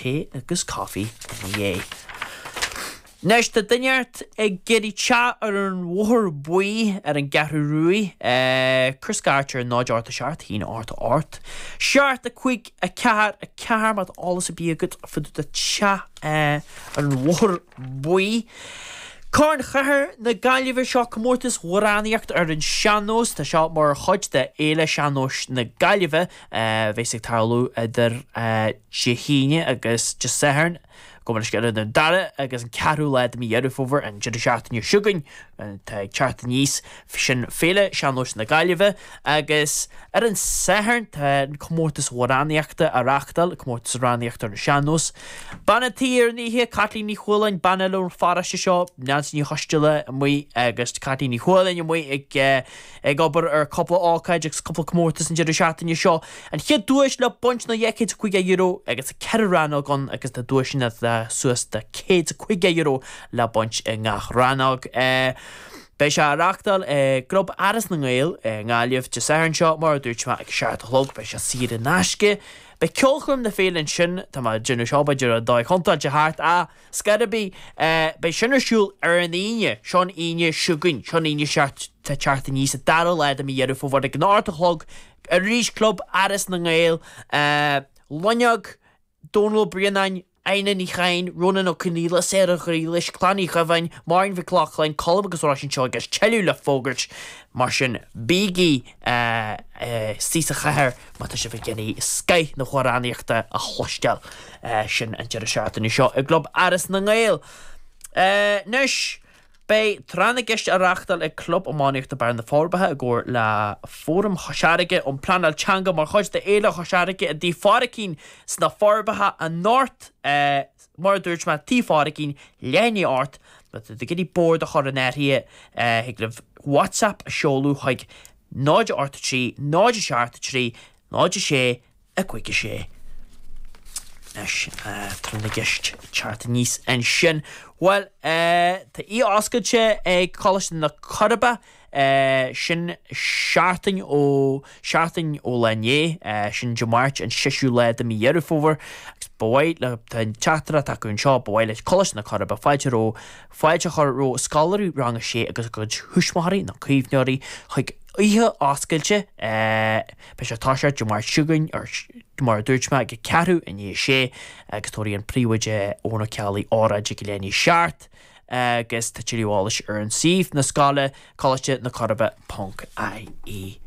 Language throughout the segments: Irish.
tae agus caife ina dhiaidh. Anois, tá duine ort ag iarraidh teach ar an Bhóthar Buí ar an gCeathrú Ruaidh. Cuir scairt ar 0 8 7 1 8 8 7 5 4 4 má tá eolas ar bith agat fá dtaobh de teach ar an Bhóthar Buí. Corn Chathair na Gaillimhe, seo comórtas amhránaíocht ar an sean-nós. Tá seo mar chuid de Fhéile Sean-Nóis na Gaillimhe a bheas ag tarlú idir Dé hAoine agus Dé Sathairn. Gabh mo leithscéal idir an dara agus an ceathrú lá de mhí Dheireadh Fómhair, an deireadh seachtaine seo chugainn, atá ag teacht aníos, sin Féile Sean-Nóis na Gaillimhe agus ar an Satharn tá an comórtas amhránaíochta á reáchtáil, comórtas amhránaíochta ar an sean-nós. Bean an tí ar an oíche, Caitlín Ní Chualáin, bean eile ón pharóiste seo, Neansaí Ní Choisdealbha amuigh agus Caitlín Ní Chualáin amuigh ag ag obair ar cúpla ócáid agus cúpla comórtas an deireadh seachtaine seo. An chéad duais le baint ná €250 agus tá 4 rannóg ann agus tá duaiseanna suas de €150 le baint i ngach rannóg. Beidh sé á reáchtáil i gClub Áras na nGael i nGaillimh Dé Sathairn seo, mar a dúirt mé, ag a 7 a chlog. Beidh sé saor in aisce. Beidh ceolchoirm na féile ansin, tá mé ag déanamh seo b'fhéidir ar dóigh chontúirteach thart, ach Scor ar bith, beidh sin ar siúl ar an Aoine, seo an Aoine seo chugainn, seo an Aoine seo atá ag teacht aníos, an dara lá de mhí Dheireadh Fómhair ag an 8 a chlog, arís Club Áras na nGael, Loinneog, Dónal Ó Braonáin, Adhna Ní Chadhain, Rónán Ó Conghaile, Sarah Ghriallais, Clann Uí Dhuibheáin, Máirín Mhic Lochlainn, Colm agus Róisín Seoige agus tuilleadh le fógairt, mar sin bígí istigh sa chathair má tá sibh ag iarraidh scoith na hamhránaíochta a chloisteáil. Sin an deireadh seachtaine seo i gClub Áras na nGael. Anois, beidh Tráth na gCeist á reáchtáil ag Club Iománaíochta Barra na Forbacha i gcomhar le Fóram Chois Fharraige um Pleanáil Teanga mar chuid de Fhéile Chois Fharraige i dTigh Phádraicín sna Forbacha anocht. Mar a dúirt mé, Tigh Phádraicín, leath i ndiaidh a 8. Má tá tú ag iarraidh bord a chur in áirithe, thig libh WhatsApp a sheoladh chuig 0 8 3 0 7 3 0 6 5 6. Anois, tráth na gceist ag teacht aníos ansin. Bhuel, tá oíche oscailte ag Coláiste na Coiribe, sin seachtain ó, seachtain ó lá inné, sin Dé Máirt an seisiú lá de mhí Dheireadh Fómhair, agus ba mhaith le, tá an teachtaireacht acu anseo, ba mhaith le Coláiste na Coiribe fáilte ró, fáilte a chur roimh scoláirí rang a sé agus a gcuid thuismitheoirí nó caomhnóirí chuig oíche oscailte, Beidh sé ag toiseacht Dé Máirt seo chugainn, mar a dúirt mé, ag ceathrú i ndiaidh a sé agus tabharfaidh an príomhoide Eoin Ó Ceallaigh óráid ag leath i ndiaidh a 7 agus tá tuilleadh eolais ar an suíomh na scoile, Coláiste na Coiribe ponc ie.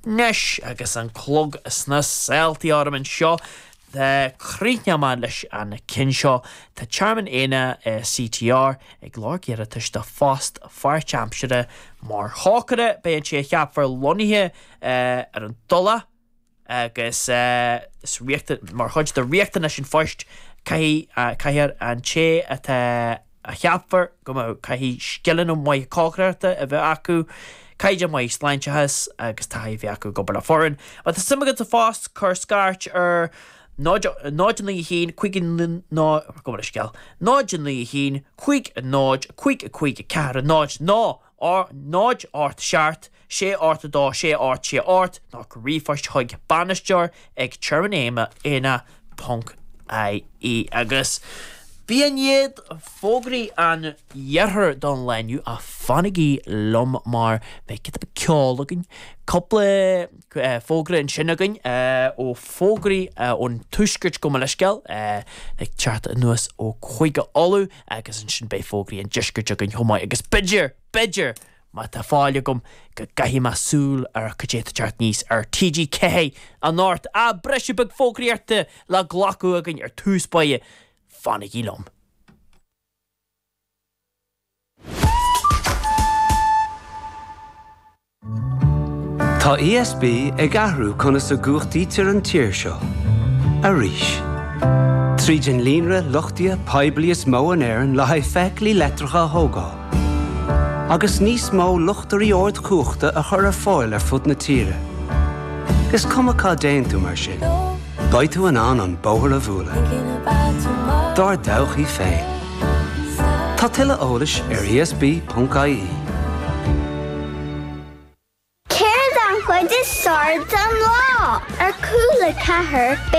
Anois agus an clog sna saoltaí orm anseo, críochnóidh mé leis an ceann seo. Tá Tearmann Éanna CTR ag lorg iarratais do phost pháirtaimseartha mar chócaire. Beidh an té a cheapfar lonnaithe ar an Tulach agus is mar chuid de riachtanais an phoist caithfidh caithfear an té atá a cheapfar go mbeadh caithfidh scileanna maithe cócaireachta a bheith acu, caighdeán maith sláinteachais agus taithí a bheith acu ag obair le foireann. Má tá suim agat sa phost, cuir scairt ar 0 0 9 1 5 0 gabh mo leithscéal 0 9 1 5 0 5 5 4 0 nó 0 8 7 6 8 2 6 8 6 8 nó cuir ríomhphost chuig bainisteoir ag tearmann ponc ie Agus b'in iad fógraí an iarthair don lá inniu ach fanaigí liom mar beidh giota beag ceoil againn, cúpla fógra ansin againn ó fógraí ón tuaisceart gabh mo leithscéal ag teacht anuas ó Chúige Uladh agus ansin beidh fógraí an deiscirt againn chomh maith agus b'fhéidir, b'fhéidir, má tá fáil agam, go gcaithfidh mé súil ar cad é atá ag teacht aníos ar TG4 anocht. Ah, briseadh beag fógraíochta le glacadh againn ar tús báire. Fanaigí liom. Tá ESB ag athrú conas a gcumhachtaítear an tír seo. Arís. Tríd an líonra luchtaithe poiblí is mó in Éirinn le haghaidh feithiclí leictreacha a thógáil. Agus níos mó luchtairí ardchumhachta a chur ar fáil ar fud na tíre. Is cuma cá dtéann tú mar sin, beidh tú in ann an bóthar a bhualadh. Dár dtodhchaí féin. Tá tuilleadh eolais ar esb.ie. Céard an chuid is fearr den lá? Ar Cúla 4, beidh.